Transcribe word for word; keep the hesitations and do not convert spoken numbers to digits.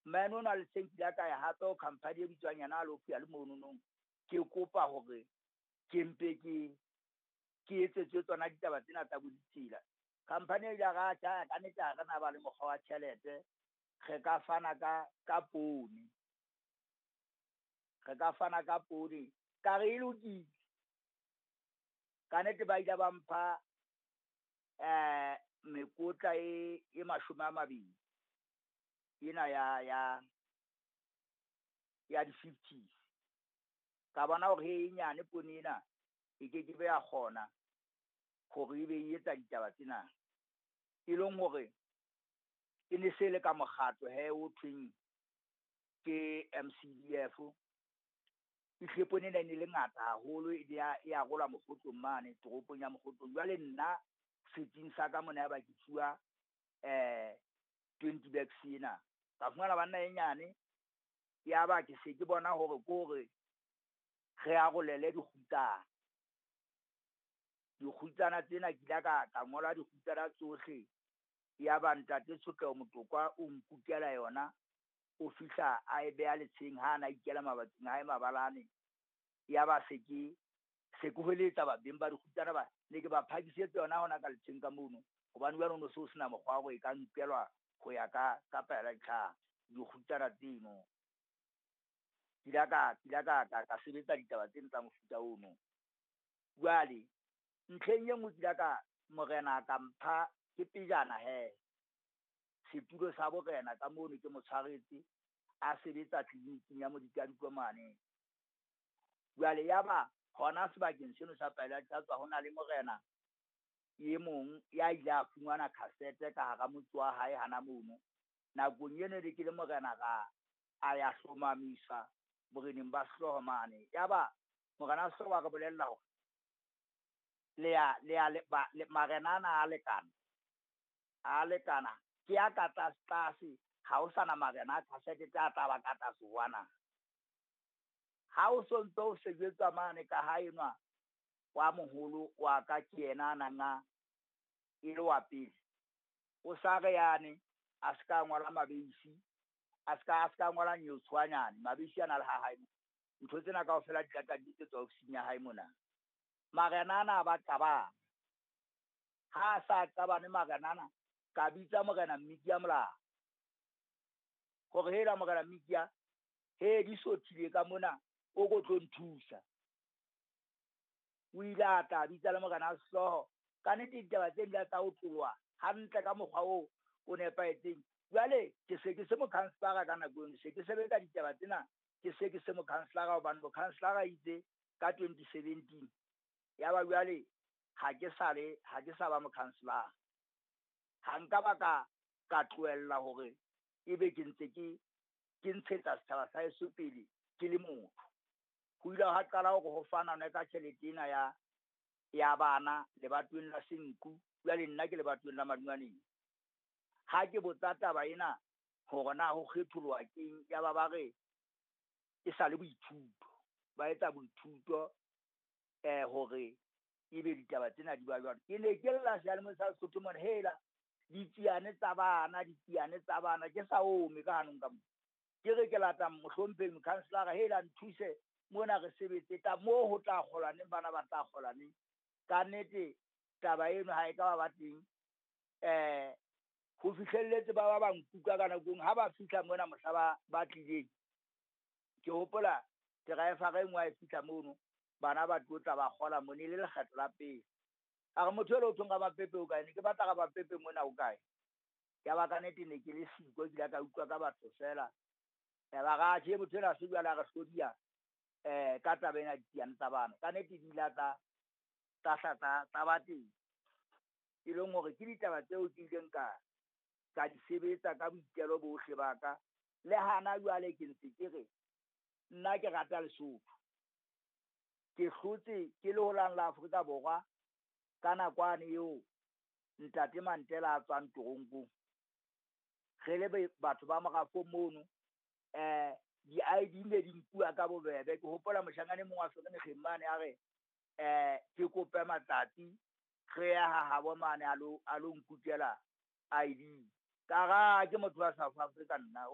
Mane ona le teng ke ile ka ya hape ho company e bitswang yena a lo le mononong. Ke kopa hore ke mpe ke ke etsetswe tsona ditaba tsena tsa bo ditsela. Company e ile ya re atjhe kannete ha re na ba le mokgwa wa tjhelete, re ka fana ka ka poone. Re ka fana ka poone, ka re e lokile. Kannete ba ile ba mpha mekotla e e mashome a mabedi. Ena ya ya ya di-fifties. Ka bona hore e nyane poone ena e kekebe ya kgona hore ebe e etsa ditaba tsena. E leng hore e ne se le ka mokgatlo hee o thweng ke M C D F. Ehlile poone ena e ne le ngata haholo, e ya e arolwa Mokgotlong mane toropong ya Mokgotlong. Jwale nna setsing sa ka mona ya ba ke fuwa twenty bags ena. Ka fumana banna e nyane, ya ba ke se ke bona hore ke hore re arolele dikgutsana. Dikgutsana tsena ke ile ka ka ngola dikgutsana tsohle. Ya ba ntate Tshotleho Motokwa o nkukela yona, o fihla a e beha letsheng ha ana ikela mabating a hae mabalane. Ya ba se ke se ke hweletsa ba beng ba dikgutsana ba ne ke ba phakisetse yona hona ka letsheng ka mono. Hobane jwale ho no se ho sena mokgwa wa hore e ka nkelwa ho ya ka ka pela ditlhare dikgutsana tseno. Ke ile ka ke ile ka ka ka sebetsa ditaba tseno tsa mofuta ono. Jwale ntlheng e nngwe ke ile ka morena ka mpha ke pejana he setulo sa borena ka mono ke mo tshwaretse a sebetsa tleliniking ya Modikadikwe mane. Jwale yaba hona sebakeng seno sa Pela ho na le morena e mong ya ile a fumana cassette ka hara motse wa hae hana mono. Nakong eno ne ke le morena ra a ya hlomamisa boreneng ba sehlooho mane. Yaba morena wa sehlooho wa re bolella hore le ya le ya le ba le marena ana a lekana, a lekana ke ya ka tlase tlase, ha ho sana marena a cassette tse a tla ba ka tlase ho ana. Ha o so ntso o sebetsa mane ka ha enwa wa moholo wa ka ke yena a nang a e le wa pele. O sa re yane a ska ngola Mabeisi, a ska a ska ngola Nyotswanyane, Mabeisi a na le ha hae. Ntho tsena kaofela di tla di etsetswa ofising ya hae mona. Marena ana a ba qabana. Ha a sa qabane marena ana, ka bitsa morena Mmikia Molao. Hore hela morena Mmikia, he di sothile ka mona, o ko tlo nthusa. O ile a tla bitsa le morena sehlooho. Ka nnete ditaba tse di tsa ho tloha hantle ka mokgwa oo o nepahetseng. Jwale ke se ke se mokhanselara ka nako eno, se ke sebetsa ditaba tsena, ke se ke se mokhanselara hobane mokhanselara itse ka twenty seventeen. Ya ba jwale ha ke sa le, ha ke sa ba mokhanselara. Ha nka ba ka, ka tlohella hore ebe ke ntse ke, ke ntshetsa setjhaba sa heso pele ke le motho. Ho ile ha qala hore ho fanwe ka tjhelete ena ya, ya bana lebatoweng la Senqu, jwale nna ke lebatoweng la Madungwaneng. Ha ke botsa taba ena hore na ho kgetholoha keng, ya ba ba re e sa le boithuto. Ba etsa boithuto eh hore ebe ditaba tsena di ba jwalo. Ke ne ke lla seyalemoyeng sa Sesotho mona, hela ditsiane tsa bana, ditsiane tsa bana, ke sa ome ka hanong ka mona. Ke re ke lata mohlomphehi mokhanselara, hela nthuse mona re sebetse tla moo ho tla kgolwa neng, bana ba tla kgolwa neng. Ka nnete taba eno ha e ka ba ba teng. Eh ho fihlelletse ba ba ba nkuka ka nakong ha ba fihla mona mohla ba, ba tlileng. Ke hopola driver e nngwe ha e fihla mono, bana ba tlo tla ba kgola mona, e le lekgetlo la pele. A re motho elo o thweng Ramapepe o kae? Ne ke batla Ramapepe mona o kae? Ya ba ka nnete ne ke le siko, ke ile ka utlwa ka batho fela. Ya ba ra tjhe motho enwa se jwale a re hlodiya eh ka taba ena ditsiane tsa bana. Ka nnete di ile tsa tsa hla tsa tsa ba teng. E leng hore ke ditaba tseo ke ileng ka ka di sebetsa ka boitelo bohle ba ka. Le hana jwale ke ntse ke re nna ke rata Lesotho. Ke hlotse ke le holang la Afrika Borwa ka nakwane eo ntate Mandela a tswang toronkong. Re le batho ba morafo mono, eh di-I D ne di nkuwa ka bobebe. Ke hopola moshanyana e mong wa Vereeniging mane a re eh ke kope matsatsi re ya ha habo mane a lo a lo nkukela I D. Ka ra ke motho wa South Africa nna.